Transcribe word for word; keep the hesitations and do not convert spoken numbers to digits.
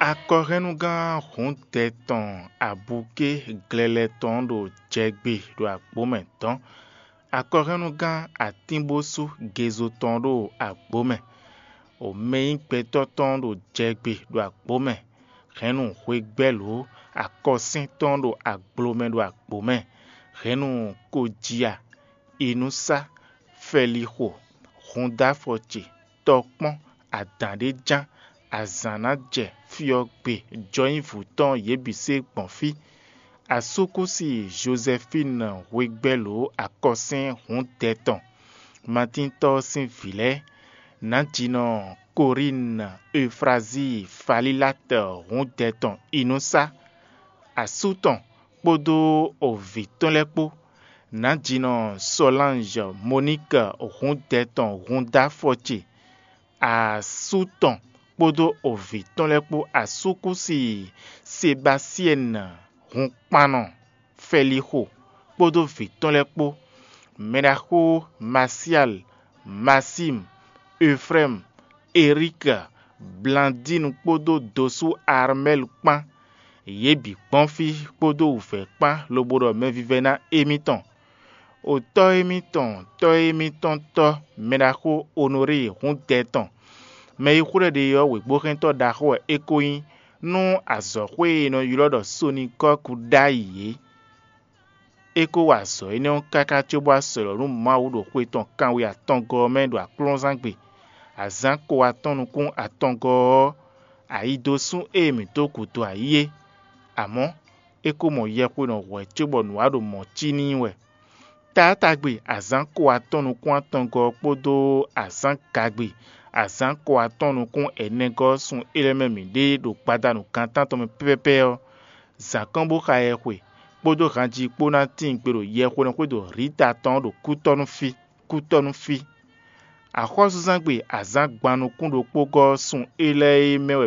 Akɔhɛnnugán hǔndɛ tɔn abukí glɛlɛ tɔn ɖo jɛgbe ɖo agbǒ mɛ dɔn. Akɔhɛnnugán atínbósú gezo tɔn ɖo agbǒ mɛ. Omɛnyígbɛtɔ́ tɔn ɖo jɛgbe ɖo agbǒ mɛ. Hɛ̌nnu hwegbɛ́lǒ akɔsín tɔn ɖo agblomɛ ɖo agbǒ mɛ. Hɛ̌nnu kojiya, inúsá, fɛlixo, hundáfɔ ce, tɔkpɔ́n, adǎn ɖé ján, azǎn ná jɛ fí ɔ́ gbe, jɔnyívu tɔn yě bǐ se gbɔn fí. Asúkúsi Jozɛfín hwegbɛ́lǒ akɔsín hǔndɛ tɔn, Matíntɔ́ ɔ́ sín vǐ lɛ́ɛ, nǎjinɔ Korín, Eufrazíi, Falílát hǔndɛ tɔn inúsá, asú tɔn kpódó ovǐ tɔn lɛ́ɛ kpó, nǎjinɔ Sɔlánj, Moník hǔndɛ tɔn húndáfɔ ce, asú tɔn kpódó ovǐ tɔn lɛ́ɛ kpó, asúkúsi Sebasyɛ́n hunkpannɔ Fɛlixo kpódó vǐ tɔn lɛ́ɛ kpó, mɛɖaxó Masyal, Masim, Efrɛ́m, Erik, Blandín kpódó dosú Armɛ́l kpán. Yě bǐ kpɔ́n fí kpódó wǔvɛ́ kpán lobo ɖɔ mɛvívɛ́ná émítɔn. O tɔ́ émítɔn, tɔ́ émítɔn tɔ́, mɛɖaxó Onorée húndɛ tɔn, mɛ e xwlɛ́ ɖe ɔ́ wěgbóhɛntɔ́ ɖaxó wɛ é ko nyí nú azɔ̌xwé e è nɔ ylɔ́ ɖɔ Sonikɔ́ku ɖ'ayǐ é. É ko wa azɔ̌ énɛ́ ɔ́ káká cóbɔ wá sɔ̌ nú Mawu ɖo xwe tɔn kanwe atɔngɔ́ ɔ́ mɛ ɖo aklɔ́nzángbe, azǎn ko atɔ́ nukún atɔngɔ́ ɔ́, ayidosún e mǐ dó gǔdo ayǐ é. Amɔ̌, é ko mɔ yɛhwenɔ hwɛ̌ cóbɔ nǔ wa ɖo mɔ̌ cí n'i wɛ. Taátagbe azǎn ko atɔ́ nukún atɔngɔ́ ɔ́ kpódó azǎn gagbe azǎn ko atɔ́ nukún ɛnɛgɔ́ ɔ́ sun é lɛ́ɛ mɛ mǐ ɖe ɖo gbadanu gan tántɔn mɛ pɛ́pɛ́pɛ́ ɔ́, zǎn kɔn bó xa yɛhwe, kpódó hanji kpó ná tíin gbe ɖo yɛhwenɔxwé ɖo Rita tɔn ɔ́ ɖo kútɔ́ nú fí, kútɔ́ nú fí. Axɔ́súzángbe azǎn gban nukún ɖokpógɔ́ ɔ́ sun é lɛ́ɛ e mɛ wɛ